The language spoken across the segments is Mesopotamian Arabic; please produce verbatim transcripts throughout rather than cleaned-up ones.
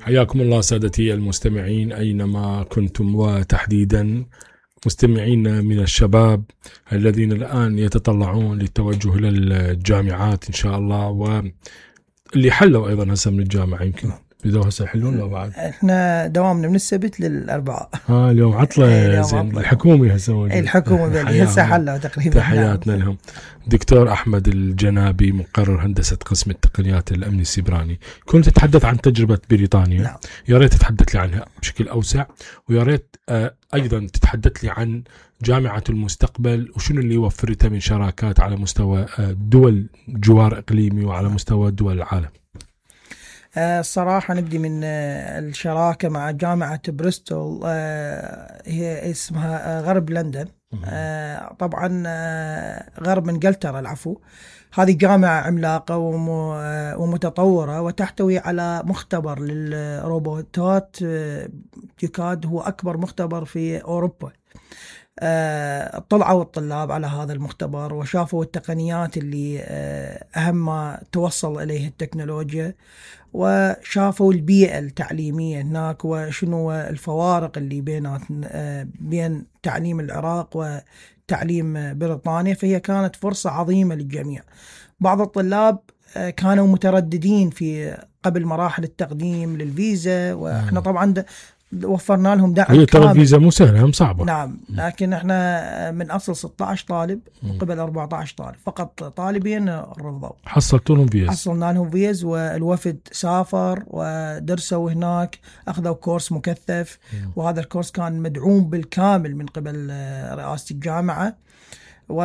حياكم الله سادتي المستمعين أينما كنتم، وتحديدا مستمعين من الشباب الذين الآن يتطلعون للتوجه إلى الجامعات إن شاء الله، واللي حلوا أيضا هسه من الجامعة يمكن بدوا هسه يحلون لو بعد. احنا دوامنا من السبت للأربعاء. ها اليوم عطلة زين. الحكومي هسه موجود. الحكومة بالي هسه حلوا تقريبا. تحياتنا نعم. لهم. دكتور أحمد الجنابي مقرر هندسة قسم التقنيات الأمن السيبراني، كنت تتحدث عن تجربة بريطانيا. نعم. يا ريت تتحدث لي عنها بشكل أوسع، ويا ريت أيضا تتحدث لي عن جامعة المستقبل وشنو اللي وفرتها من شراكات على مستوى دول جوار إقليمي وعلى مستوى دول العالم. الصراحة نبدي من الشراكة مع جامعة بريستول، هي اسمها غرب لندن، طبعا غرب انجلترا العفو. هذه جامعة عملاقة ومتطورة وتحتوي على مختبر للروبوتات يكاد هو أكبر مختبر في أوروبا. طلعوا الطلاب على هذا المختبر وشافوا التقنيات اللي أهم ما توصل إليه التكنولوجيا، وشافوا البيئة التعليمية هناك وشنو الفوارق اللي بينات بين تعليم العراق وتعليم بريطانيا. فهي كانت فرصة عظيمة للجميع. بعض الطلاب كانوا مترددين في قبل مراحل التقديم للفيزا، وإحنا طبعا وفرنا لهم دعم كامل. هي ترى الفيزا مو سهلة، هم صعبة. نعم، لكن احنا من اصل ستة عشر طالب قبل أربعة عشر طالب، فقط طالبين رفضوا. حصلتوا لهم فيز؟ حصلنا لهم فيز، والوفد سافر ودرسوا هناك، اخذوا كورس مكثف. مم. وهذا الكورس كان مدعوم بالكامل من قبل رئاسة الجامعة، و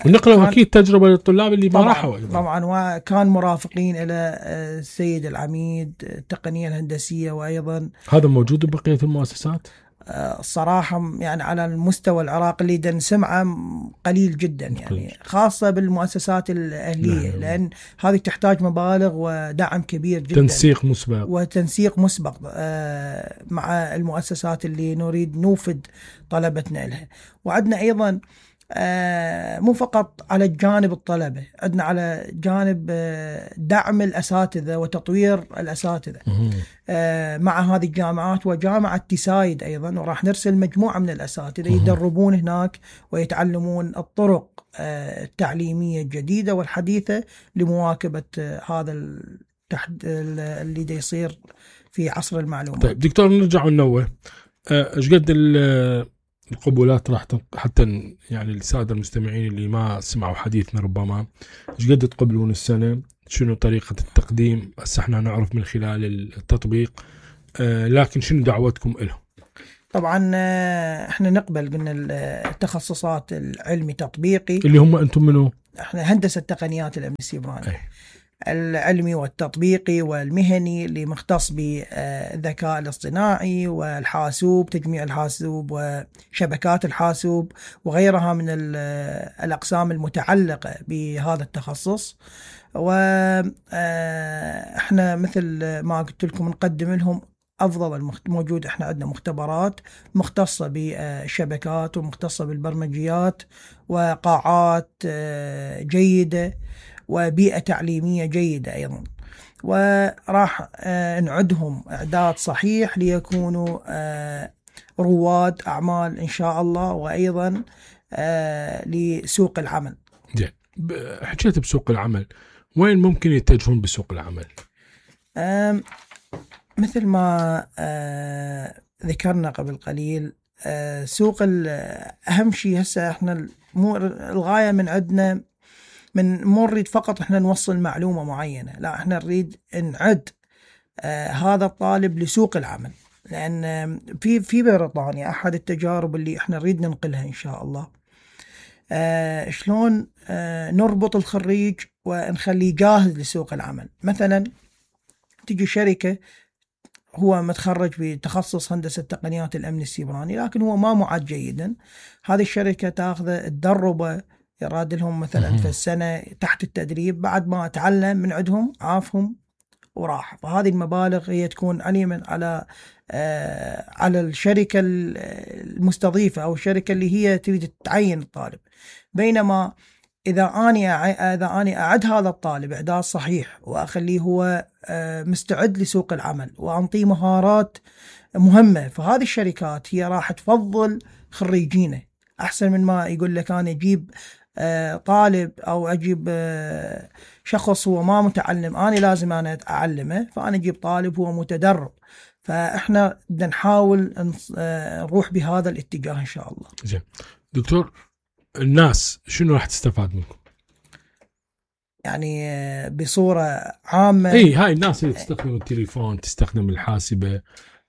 ونقلوا اكيد تجربه للطلاب اللي ما راحوا. طبعا وكان مرافقين الى السيد العميد التقنيه الهندسيه، وايضا هذا موجود ببقيه المؤسسات. الصراحه يعني على المستوى العراقي اللي نسمعه قليل جدا، يعني خاصه بالمؤسسات الاهليه. نعم. لان هذه تحتاج مبالغ ودعم كبير جدا، تنسيق مسبق وتنسيق مسبق مع المؤسسات اللي نريد نوفد طلبتنا لها. وعندنا ايضا آه مو فقط على الجانب الطلبة، عندنا على جانب آه دعم الأساتذة وتطوير الأساتذة آه مع هذه الجامعات وجامعة تسايد أيضا، وراح نرسل مجموعة من الأساتذة يدربون هناك ويتعلمون الطرق آه التعليمية الجديدة والحديثة لمواكبة آه هذا التحد اللي دا يصير في عصر المعلومات. طيب دكتور، نرجع وننوه ايش قد القبولات راح حتى يعني السادة المستمعين اللي ما سمعوا حديثنا ربما، ايش قد تقبلون السنة؟ شنو طريقة التقديم؟ هسه احنا نعرف من خلال التطبيق، آه لكن شنو دعوتكم له؟ طبعا احنا نقبل قلنا التخصصات العلمي تطبيقي اللي هم انتم منو؟ احنا هندسة تقنيات الامن السيبراني. أي. العلمي والتطبيقي والمهني اللي مختص بالذكاء الاصطناعي والحاسوب، تجميع الحاسوب وشبكات الحاسوب وغيرها من الأقسام المتعلقة بهذا التخصص. وإحنا مثل ما قلت لكم نقدم لهم أفضل الموجود. إحنا عندنا مختبرات مختصة بالشبكات ومختصة بالبرمجيات وقاعات جيدة وبيئة تعليمية جيدة أيضا، وراح نعدهم إعداد صحيح ليكونوا رواد أعمال إن شاء الله، وأيضا لسوق العمل. جي. حكيت بسوق العمل، وين ممكن يتجهون بسوق العمل؟ مثل ما ذكرنا قبل قليل، سوق أهم شيء هسه إحنا مو الغاية من عندنا من مو نريد فقط احنا نوصل معلومة معينة، لا احنا نريد نعد آه هذا الطالب لسوق العمل. لأن آه في في بريطانيا أحد التجارب اللي احنا نريد ننقلها إن شاء الله، آه شلون آه نربط الخريج ونخليه جاهز لسوق العمل. مثلا تجي شركة هو متخرج بتخصص هندسة تقنيات الأمن السيبراني، لكن هو ما معد جيدا. هذه الشركة تأخذه تدربه، يراد لهم مثلا في السنة تحت التدريب، بعد ما تعلم من عندهم عافهم وراح. فهذه المبالغ هي تكون عليا على آه على الشركة المستضيفة أو الشركة اللي هي تريد تعين الطالب. بينما إذا أني إذا أني أعد هذا الطالب إعداد صحيح وأخليه هو مستعد لسوق العمل وأنطيه مهارات مهمة، فهذه الشركات هي راح تفضل خريجينه أحسن من ما يقول لك أنا أجيب طالب أو أجيب شخص هو ما متعلم أنا لازم أنا أعلمه، فأنا أجيب طالب هو متدرب. فإحنا بدنا نحاول نروح بهذا الاتجاه إن شاء الله. زين دكتور، الناس شنو راح تستفاد منكم؟ يعني بصورة عامة اي هاي الناس اللي تستخدم التليفون تستخدم الحاسبة،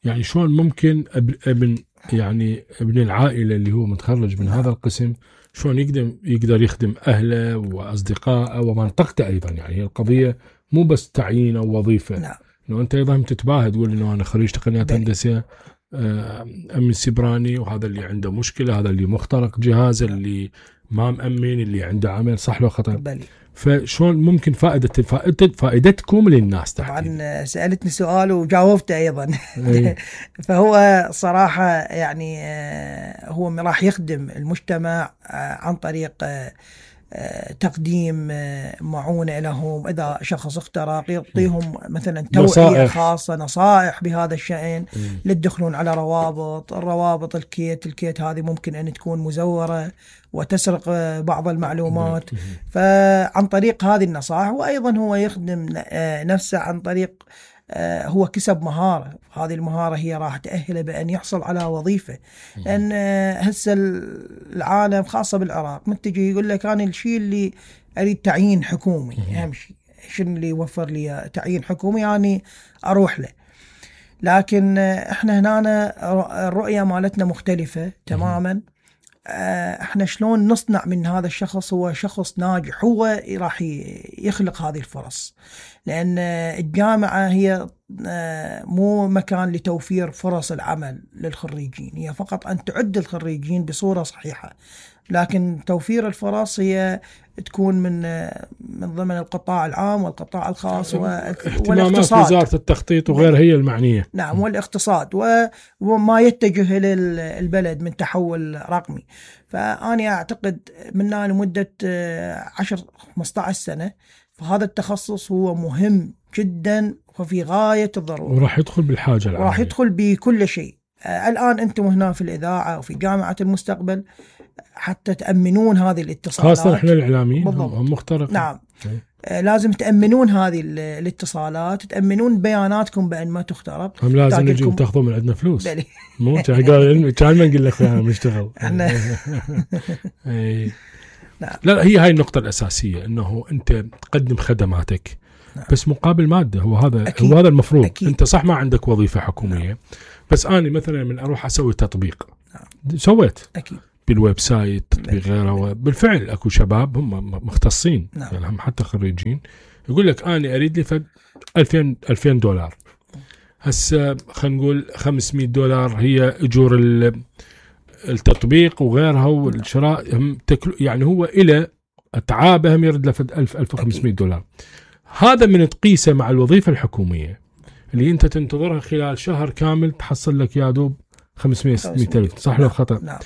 يعني شلون ممكن ابن يعني ابن العائلة اللي هو متخرج من هذا القسم شلون يقدر يقدر يخدم أهله وأصدقائه ومنطقته أيضا؟ يعني القضية مو بس تعيين أو وظيفة. نعم. إنه أنت أيضا تتباهى تقول إنه أنا خريج تقنيات هندسة أمن سيبراني، وهذا اللي عنده مشكلة، هذا اللي مخترق جهازه، اللي ما مأمن، اللي عنده عمل صح لو خطأ. بلي. فشلون ممكن فائدة فائدة فائدتكم للناس تحديدا؟ طبعا سألتني سؤال وجاوبته أيضا. فهو صراحة يعني هو راح يخدم المجتمع عن طريق تقديم معونة لهم، إذا شخص اخترق يعطيهم مثلا توعية نصائح. خاصة، نصائح بهذا الشأن، لا تدخلون على روابط الروابط الكيت الكيت هذه ممكن أن تكون مزورة وتسرق بعض المعلومات. فعن طريق هذه النصائح، وأيضا هو يخدم نفسه عن طريق هو كسب مهارة، هذه المهارة هي راح تأهله بأن يحصل على وظيفة. لأن هسه العالم خاصة بالعراق متجي يقول لك أنا الشيء اللي أريد تعيين حكومي، أهم شيء شنو اللي يوفر لي تعيين حكومي يعني أروح له. لكن إحنا هنا الرؤية مالتنا مختلفة تماما. احنا شلون نصنع من هذا الشخص هو شخص ناجح، هو راح يخلق هذه الفرص. لأن الجامعة هي مو مكان لتوفير فرص العمل للخريجين، هي فقط أن تعد الخريجين بصورة صحيحة، لكن توفير الفرص هي تكون من من ضمن القطاع العام والقطاع الخاص والاقتصاد، وزارة التخطيط وغيرها هي المعنية. نعم، والاقتصاد وما يتجه للبلد من تحول رقمي. فأنا أعتقد مننا لمدة عشر خمسة عشر سنة فهذا التخصص هو مهم جدا وفي غاية الضرورة، وراح يدخل بالحاجة العامة، وراح يدخل بكل شيء. الآن أنتم هنا في الإذاعة وفي جامعة المستقبل حتى تأمنون هذه الاتصالات، خاصة إحنا الإعلاميين هم مخترق. نعم. أي. لازم تأمنون هذه الاتصالات، تأمنون بياناتكم بأن ما تخترق. هم لازم نجي تاخذوا من عندنا فلوس. مو قال كان ما نقول لك احنا بنشتغل. نعم. لا هي هاي النقطة الأساسية، إنه أنت تقدم خدماتك نعم. بس مقابل مادة. هو هذا أكيد. هو هذا المفروض. أكيد. أنت صح ما عندك وظيفة حكومية نعم. بس أنا مثلا من أروح أسوي تطبيق نعم. سويت أكيد. بالويب سايت تطبيق غيره، بالفعل اكو شباب هم مختصين نعم. يعني هم حتى خريجين يقول لك انا اريد لي فد ألفين ألفين دولار. هسه خلينا نقول خمسمية دولار هي اجور التطبيق وغيرها والشراء، هم يعني هو الى اتعابه هم يرد له فد ألف ألف وخمسمية دولار. هذا من تقيسه مع الوظيفه الحكوميه اللي انت تنتظرها خلال شهر كامل تحصل لك يا دوب خمسمية ستمية ألف، صح ولا خطأ؟ نعم.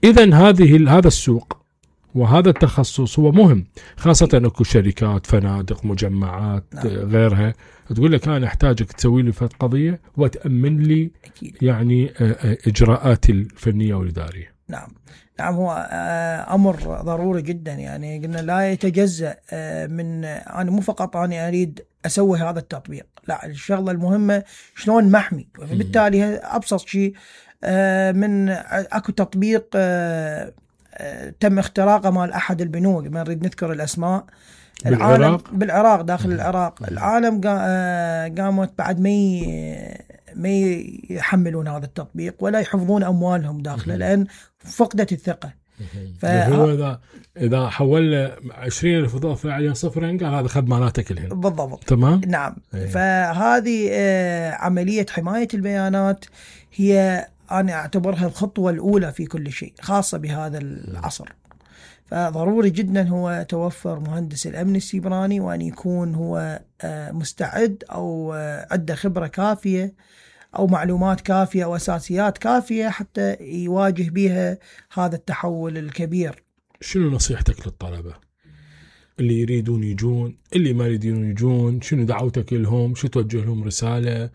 إذن هذه هذا السوق وهذا التخصص هو مهم، خاصة أنكو شركات فنادق مجمعات نعم. غيرها تقول لك أنا أحتاجك تسوي لي فد قضية وتأمن لي أكيد. يعني إجراءاتي الفنية والإدارية. نعم نعم هو أمر ضروري جدا، يعني قلنا لا يتجزأ من أنا مو فقط أنا أريد أسوي هذا التطبيق، لا الشغلة المهمة شلون محمي. وبالتالي أبسط شيء من اكو تطبيق تم اختراقه مال احد البنوك، ما نريد نذكر الاسماء، بالعراق بالعراق داخل العراق. العالم قامت بعد ما ما يحملون هذا التطبيق ولا يحفظون اموالهم داخله لان فقدت الثقه. فهو اذا اذا حول عشرين ألف اضافه عليها صفرين قال هذا خدماتك الحين بالضبط. تمام نعم. فهذه عمليه حمايه البيانات هي أنا أعتبرها الخطوة الأولى في كل شيء، خاصة بهذا العصر. فضروري جدا هو توفر مهندس الأمن السيبراني وأن يكون هو مستعد أو عنده خبرة كافية أو معلومات كافية أو أساسيات كافية حتى يواجه بها هذا التحول الكبير. شنو نصيحتك للطلبة؟ اللي يريدون يجون، اللي ما يريدون يجون، شنو دعوتك لهم، شو توجه لهم رسالة.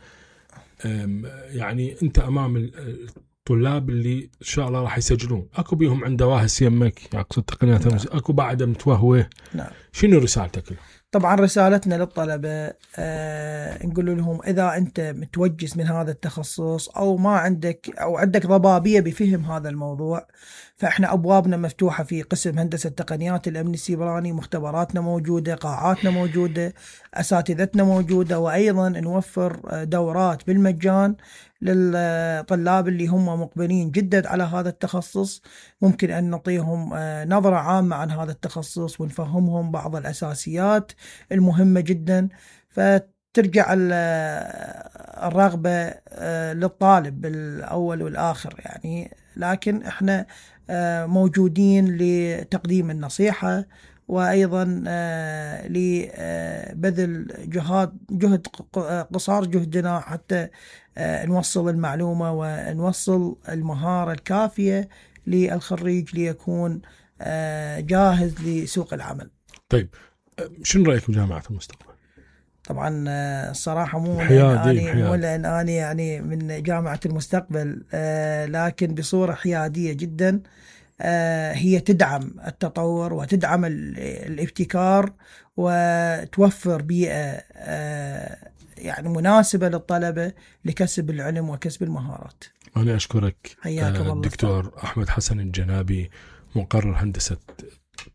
يعني أنت أمام الطلاب اللي إن شاء الله راح يسجلون، أكو بيهم عنده واهس يمك، أقصد تقنيات نعم. أكو بعد متوهوه. نعم. شنو رسالتك لهم؟ طبعا رسالتنا للطلبة آه نقول لهم إذا أنت متوجس من هذا التخصص أو ما عندك أو عندك ضبابية بفهم هذا الموضوع، فإحنا أبوابنا مفتوحة في قسم هندسة تقنيات الأمن السيبراني، مختبراتنا موجودة، قاعاتنا موجودة، أساتذتنا موجودة، وأيضا نوفر دورات بالمجان للطلاب اللي هم مقبلين جدا على هذا التخصص. ممكن أن نعطيهم نظرة عامة عن هذا التخصص ونفهمهم بعض الأساسيات المهمة جدا، فترجع الرغبة للطالب بالأول والآخر يعني. لكن احنا موجودين لتقديم النصيحة، وأيضا لبذل جهاد جهد قصار جهدنا حتى نوصل المعلومة ونوصل المهارة الكافية للخريج ليكون جاهز لسوق العمل. طيب شنو رأيك بجامعة المستقبل؟ طبعا الصراحة مو أني مو لأن أنا يعني من جامعة المستقبل، لكن بصورة حيادية جدا. هي تدعم التطور وتدعم الابتكار وتوفر بيئة يعني مناسبة للطلبة لكسب العلم وكسب المهارات. أنا أشكرك الدكتور أحمد حسن الجنابي، مقرر هندسة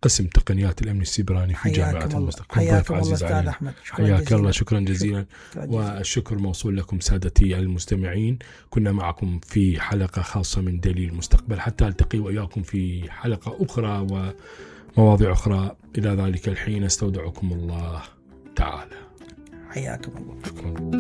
قسم تقنيات الأمن السيبراني في جامعة المستقبل. حياك الله أستاذ أحمد. حياك الله، شكرا جزيلا. والشكر موصول لكم سادتي المستمعين. كنا معكم في حلقة خاصة من دليل المستقبل، حتى ألتقي وإياكم في حلقة أخرى ومواضيع أخرى. إلى ذلك الحين استودعكم الله تعالى. حياكم الله. شكرا.